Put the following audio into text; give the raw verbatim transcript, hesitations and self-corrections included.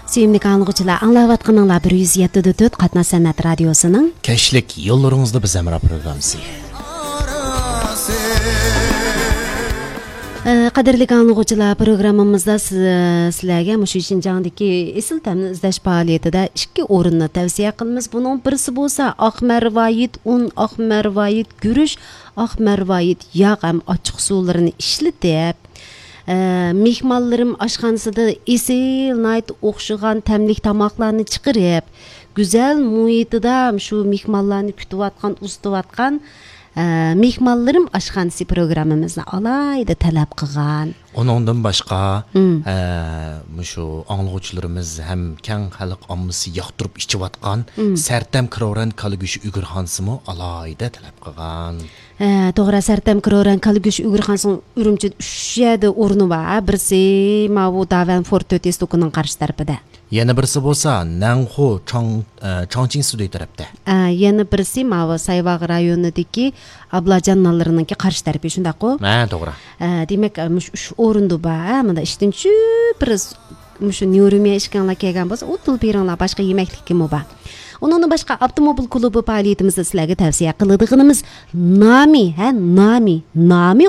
سۆيۈملۈك ئاڭلىغۇچىلار، ئاڭلاۋاتقىنىڭلار بىر يۈز يەتتە دۆت قاتناش سەنئەت رادىيوسىنىڭ كەچلىك يوللىرىڭىزدا بىز ھەمراھ پروگراممىسى. ئە، قەدىرلىك ئاڭلىغۇچىلار، پروگراممىمىزدا سىز-، سىلەرگە مۇشۇ شىنجاڭدىكى ئېسىل تەمنى ئىزدەش پائالىيىتىدە ئىككى ئورۇننى تەۋسىيە قىلىمىز. بۇنىڭ بىرسى بولسا ئاقمەرۋايىت ئۇن، ئاقمەرۋايىت گۈرۈچ، ئاقمەرۋايىت ياغ ھەم ئاچچىق سۇلىرىنى ئىشلىتىپ، ئە، مېھمانلىرىم ئاشخانىسىدا ئېسىل، ناھايىتى ئوخشىغان تەملىك تاماقلارنى چىقىرىپ، گۈزەل مۇھىتىدا شۇ مېھمانلارنى كۈتۈۋاتقان، ئۇزىتىۋاتقان، ئە، مېھمانلىرىم ئاشخانىسى پروگراممىمىزنى ئالاھىدە تەلەپ قىلغان. ئۇنىڭدىن باشقا، مم. ئە، مۇشۇ ئاڭلىغۇچىلىرىمىز ھەم كەڭ خەلق ئاممىسى ياقتۇرۇپ ئىچىۋاتقان مم. سەرتەم كرورەن كالا گۆشى ئۈگرىخانىسىمۇ ئالاھىدە تەلەپ قىلغان. ھە، توغرا، سەرتەم كرورەن كالا گۆشى ئۈگرىخانىسىنىڭ ئۈرۈمچىدە ئۈچ يەردە ئورنى بار. بىرسى ماۋۇ داۋەن فورت تۆت يۈز توكىنىڭ قارشى تەرىپىدە. يەنە بىرسى بولسا نەنخۇ چاڭ-، ئە، چاڭچىڭ سۈدۈي تەرەپتە. ئە، يەنە بىرسى ماۋۇ سايۋاغ رايونىدىكى ئابلاجان نانلىرىنىڭكى قارشى تەرىپى، شۇنداققۇ؟ ھە، توغرا. ئە، دېمەك، ئە، مۇشۇ ئۈچ ئورۇندا بار. ھە، مۇندا ئىشتىن چۈشۈپ بىر مۇشۇ نيۇرۇميا ئىشىكىڭلار كەلگەن بولسا، ئۇدۇل بېرىڭلار، باشقا يېمەكلىكىمۇ بار. ئۇنىڭدىن باشقا، ئاپتوموبىل كۇلۇبى پائالىيىتىمىزدە سىلەرگە تەۋسىيە قىلىدىغىنىمىز نامى، ھە، نامى، نامى